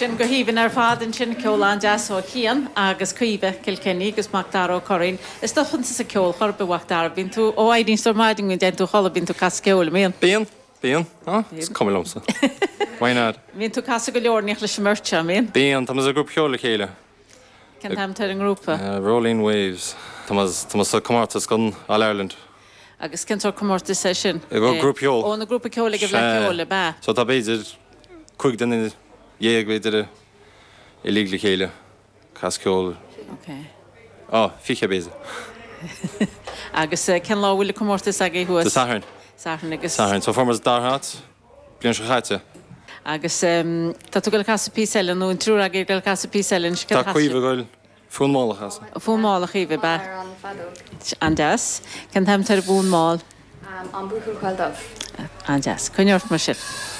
Sin go haoibhinn ar fad ansin, ceol an-deas ó Chian agus Caoimhe, Kilkenny, agus Macdara Ó Curraoin. Is stopann tusa ceol chor ar bith, a Mhacdara. Bíonn tú, ó éiríonn tú ar maidin go dtéann tú a chodladh, bíonn tú ag casadh ceoil, an mbíonn? Bíonn, bíonn. Ah, is cuma liomsa. Why not? Bíonn tú ag casadh go leor ní leis an mbeirt seo, an mbíonn? Bíonn, tá muid i grúpa ceoil le chéile. Cén t-ainm atá ar an ngrúpa? Rolling Waves. Tá muid, tá muid sa comórtas don All Ireland. Agus cén sórt comórtas é sin? Grúpa ceoil. Ó, na grúpa ceoil ag an bhFleadh Ceoil, ab ea? So tá b'fhéidir 15 duine b'fhéidir uilig le chéile ag casadh ceoil. Ok. Ó, 20 b'fhéidir. Agus cén lá a bhfuil an comórtas agaibh thuas? Dé Sathairn. Satharn agus. Satharn. So fuair muid dara háit bliain seo chaite. Agus tá tú ag dul ag casadh píosa eile nó an triúr agaibh ag dul ag casadh píosa eile anois? Tá Caoimhe ag dul Fonn mall a chasadh. Fonn mall a Chaoimhe, ab ea? An-deas. Cén t-ainm atá ar an bhfonn mall? An Buachaill Caol Dubh. An-deas. Coinnigh ort mar sin.